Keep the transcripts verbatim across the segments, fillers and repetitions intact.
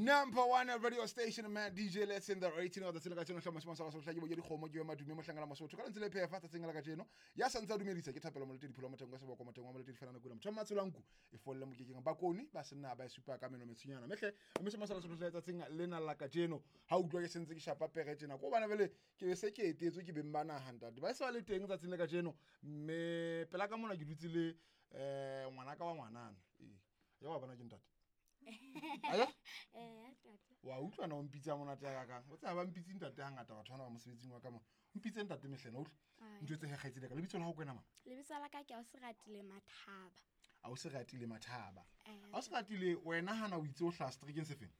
Number one radio station, man, D J Let's in the rating of the tsela ka tseno hloma se sa hlaki bo dikgomo ke madume mohlangana mosotho ka lentse le phefa tsatsing la kajeno ya santsa dumedisa ke thapelo moletedi pholo moteng wa seboko moteng wa moletedi fela nako motho matshelo nku e folle mokekeng bakoni ba senna ba e supa ka meno metsunyana mehle mme se masala sotho tsatsing lena la kajeno ha utlwa ke sentse ke shapa pere tjena ko bana bele ke be se ke etetswe ke beng ba naha ntate ba se ba le teng tsatsing le kajeno mme pela ka mona ke dutse le eh ngwana ka wa ngwanana ee ya wa bona ke ntate aya. Eh, ntate. Wa utlwa na o mpitsa monate ya kakang o tseba ba mpitse ntate hangata batho bana ba mosebetsing wa ka mona o mpitse ntate mehlena utlwa. Ai. Ntho tse kgaitsedi ka lebitso la hao kwena mang? Lebitso la ka ke Ausiratile Mathaba. A o se ratile Mathaba. Eh. A o se ratile wena hana o itse o hlaha seterekeng se feng?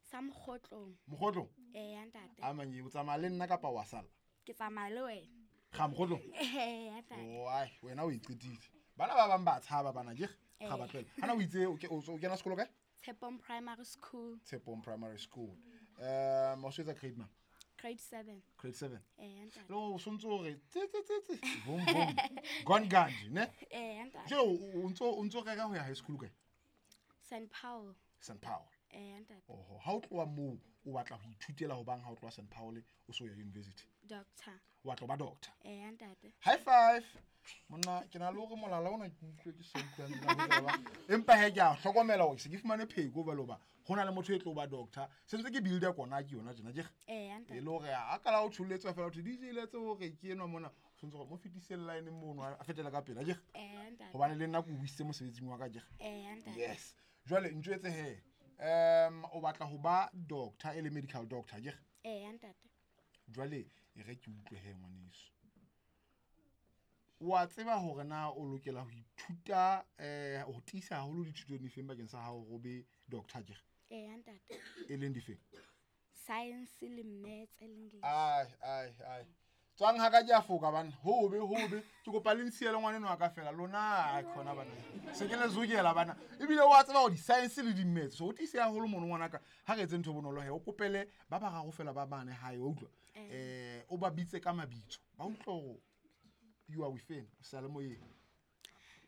Sa Mokgotlong. Mokgotlong. Eh, ntate. A manye o tsamaya le nna kapa wa sala? Ke tsamaya le wena. Ga Mokgotlong. Eh, ntate. Oai wena o iqetile bana ba bang ba tshaba bana ke Eh. ga ba tlohela hana o itse o ke- o o kena sekolo kae? Tshepong Primary School. Tshepong Primary School. um o se etsa grade mang? Grade seven. Grade seven. Eh, ntate. Le o sontse hore tse tse tse tse vom vom gone ganji ne. Eh, ntate. Jwale o o ntso o ntso rera ho ya high school kae? Saint Paul. Saint Paul. Eh, ntate. Oho, ha o tloha moo o batla ho ithutela ho bang ha o tloha Saint Paul o so ya university? Doctor. O batla ho ba doctor? Eh, ntate. High five monna ke na le hore molala ona ke utlwe ke sa utlwang tsena ho tseba. Empa he ke a hlokomela hore se ke fumane pheko jwale hoba ho na le motho e tlo ba doctor se ntse ke builder kona ke yona tjena ke Eh, e ntate. le hore a kala o tsholetswa fela ho D J letse hore ke enwa mona o tshwanetse hore mo fetise line mono a fetela ka pela ke Eh, ntate. hobane le nna ke o buisitse mosebetsing wa ka ke. Eh, ntate. Yes, jwale ntjwetse he um o batla ho ba doctor e le medical doctor ke? Eh, ntate. Jwale e re ke utlwe he ngwaneso wa tseba hore na o lokela ho ithuta um ho tiisa haholo dithutong difeng bakeng sa hao ho be doctor ke? Eh, ntate. E leng difeng? Science le Maths le English. Ai ai ai tswang ha ka ke a foka bana hobe hobe ke kopa le nsiele ngwaneno wa ka fela lona ai khona bana se ke le zokela bana ebile wa tseba hore di-science le di-maths so o tiise haholo mono ngwanaka ha re etse ntho e bonolo he o kopele ba bararo fela ba bane hae wa utlwa um o ba bitse ka mabitso ba utlwa hore you are within o sa le moyeng.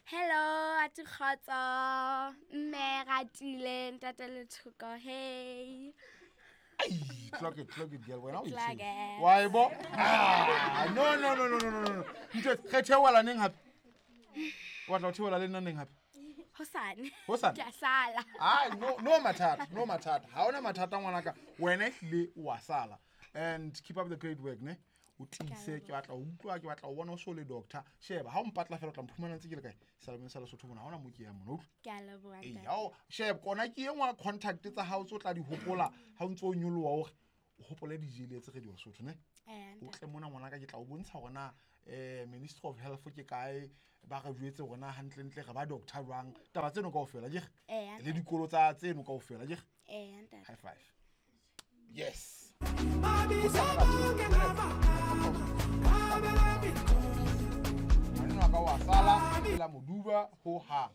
Hello, ati kgotso. Mme Ratile, ntate Lethoko. Hey. Ai, clock it, clock it, girl. Wena o Clock itshwere. it. Wa e bo? Ah, no no no no no no no. Ntho re theola neng hape? O batla ho theola le nna neng hape? Hosane. Hosane? Ke a sala. Ai, no no mathata, no mathata. Ha ona mathata ngwanaka. Wena ehlile o wa sala. And keep up the great work, ne? O tiise ke batla ho utlwa ke batla ho bona o so le doctor. Sheba, ha o mpatla fela o tla mphumana ntse ke le kae? Salemeng sa Lesotho mona ha ona mo ke yang mona, utlwa. Ke a leboha, Ee, ntate. ha o sheba kona ke e nngwe ya contact tsa hao tse o tla di hopola ha o ntso o nyoloha hore o hopole D J Letse Radio Lesotho ne. Eh, O ntate. tle mona ngwanaka ke tla o bontsha hore na um Ministry of Health ke kae ba re jwetse hore na hantlentle re ba doctor jwang taba tseno kaofela ke Eh, le dikolo tsa tseno kaofela ke. Eh, ntate. High five, yes. Ngwaneno wa ka wa sala la moduba ho hang.